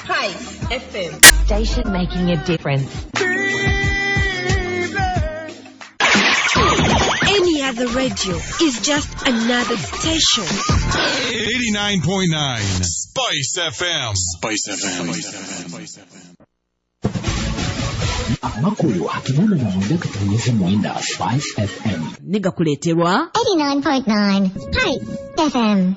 Spice FM. Station making a difference. Any other radio is just another station. 89.9 Spice FM. Spice FM. Amakulu akinana na mwenda katonyeze mwenda Spice FM. Negakuleterwa 89.9 Spice FM.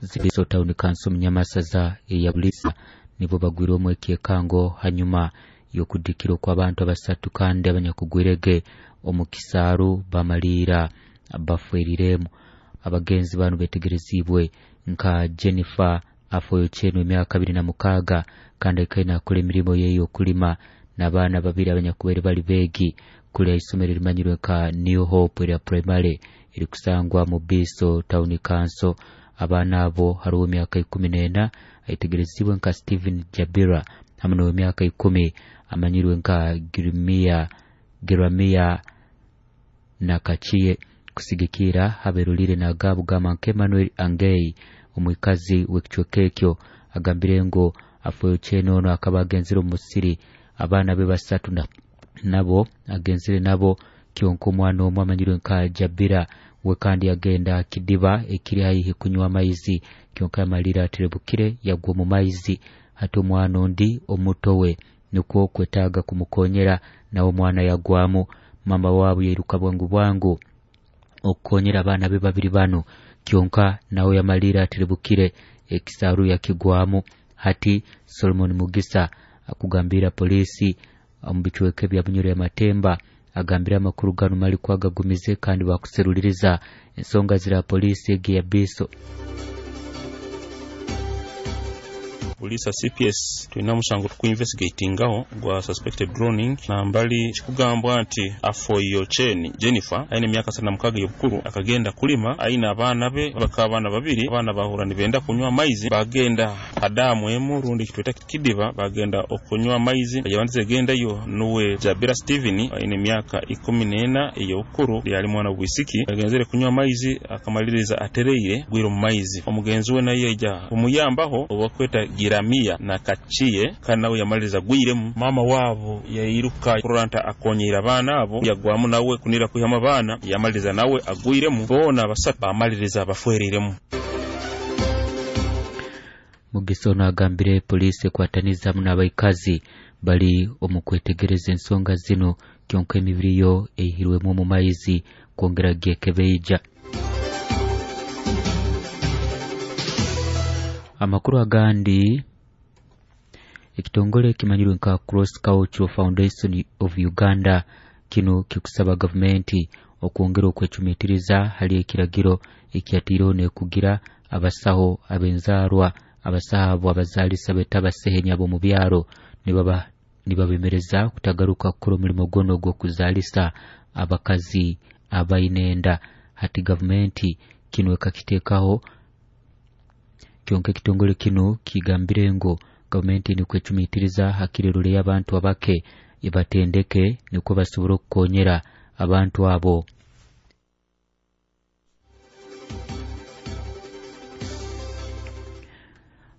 Zibiso Town Council Munyamasaza eya Bulisa nibo bagwire omwekekango hanyuma y'okudikira kw'abantu abasatu kandi abanyakugwirege omu kisaaru bamalira bafweriremu. Abagenzi bano betegerezibwe nka Jennifer Afoyochenu emyaka 26 kandi akaina akora emirimo ye y'okulima n'abaana babiri abanyakubaire bali beegi kuli isomero erimanyirwe nka New Hope erya primary erikusangwa mu Biso Town Council. Abaana abo hariho emyaka 14 aitegerezibwe nka Steven Jabira hamwe n'emyaka 10 amanyirwe nka Giramia Nakachiye. Kusigikira haberulire nagabu gama nke Emmanuel Angei omwikazi w'ekicweka ekyo agambire ngo Afoyochenu ono akaba agenzire omu musiri abaana be basatu nabo agenzire nabo kyonka omwana omwe amanyirwe nka Jabira we kandi agenda kidiba ekiri haihi kunywa amaizi kyonka yamalira aterebukire yagwa omu maizi. Hati omwana ondi omuto we nikwo kwetaaga kumukonyera nawe omwana yagwamu. Mama waabo yairuka bwangu bwangu okukonyera abaana be babiri bano kyonka nawe yamalira aterebukire ekisaaru yakigwamu. Hati Solomon Mugisa akugambira polisi omu bicweka bya Bunyoro ya Matemba agambira amakuru gano mali kwagagumize kandi bakuseruliriza ensonga zira polisi egi ya Biso. Polisi CPS tulina musango tukuinvestigatingaho gwa suspected drowning nambali kikugambwa nti Afoyocheni Jennifer aine emyaka 36 y'obukuru akagenda kulima aine abaana be bakaba abaana babiri. Abaana bahura nibenda kunywa amaizi bagenda adamu emu rundi kitweta kidiba bagenda okunywa amaizi yabandize gendayo nuwe Jabira Steven aine emyaka 14 ey'obukuru yali mwana bwisiki agenzere kunywa amaizi akamaliriza atereire gwire mu maizi. Omugenzi we naye yaija kumuyambaho obakweta Giramia na Kachiye kandi nawe yamaliriza gwiremu. Mama wabo yairuka kuranta akonyera abaana abo yagwamu nawe kunira kwihama abaana yamaliriza nawe agwiremu boona basatu bamaliriza bafweriremu. Mugisa ono agambire polisi ekwataniza hamu n'abaikazi bali omu kwetegereza ensonga zino kyonka emibiri yo eihirwemu omu maizi kwongera gyekebeija. Amakuru agandi, ekitongole kimanyirwe nka Cross Cultural Foundation of Uganda kino kikusaba gavumenti okwongera okwecumitiriza hali ekiragiro ekyatiireho nekugira abasaho ab'enzaarwa abasaho abo abazaalisa beta abasehenya ab'omu byaro nibabemereza kutagaruka kukora omulimo gwono ogw'okuzaalisa abakazi abaine enda. Hati gavumenti kino ekakiteekaho kyonka ekitongole kino kigambire ngo gavumenti nikwecumitiriza hakirerule y'abantu abake ibatendeke nikwo basobora okukonyera abantu abo.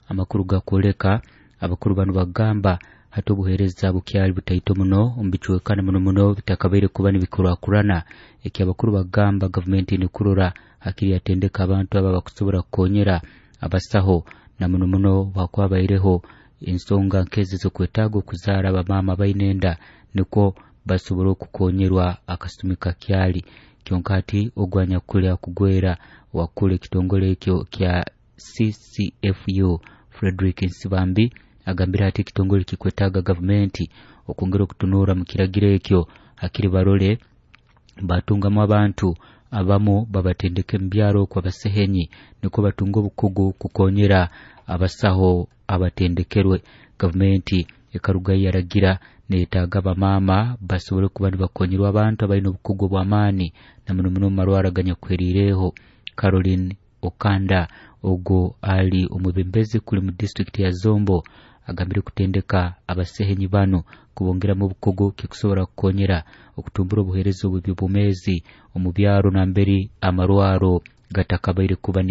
Amakuru gakwoleka abakuru bano bagamba hati obuheereza bukyali butaito muno omu bicwekana muno muno bitakabaire kuba nibikurakurana. Eki abakuru bagamba gavumenti nikurora hakiri yatendeka abantu aba bakusobora kukonyera abasaho na muno muno bakwabaireho ensonga nkezi z'okwetaaga okuzaara abamaama baine enda nikwo basobora okukonyerwa akasumi kakyali. Kyonka hati ogwanya kulya kugwera wakula ekitongole ekyo kya CCFU Frederick Nsibambi agambira hati ekitongole kikwetaaga gavumenti okwongera okutunura mu kiragiro ekyo hakiri barole batungamu abantu abamu babatendeke mu byaro kwa basehenyi nikwo batunga obukugu kukonyera abasaho abatendekerwe. Gavumenti ekaruga yaragira neetaaga abamaama basobole kuba nibakonyerwa abantu abalina obukugu bw'amaani na muno muno mu marwara aganyakuheriireho. Caroline Okanda ogwo ali omwebembezi kuli mu disitulikiti ya Zombo agambire kutendeka abasehenyi bano kubongeramu obukugu kikusobora kukonyera okutumbura obuheereza obw'ebyobwomeezi omu byaro namberi amarwaro gatakabaire kuba.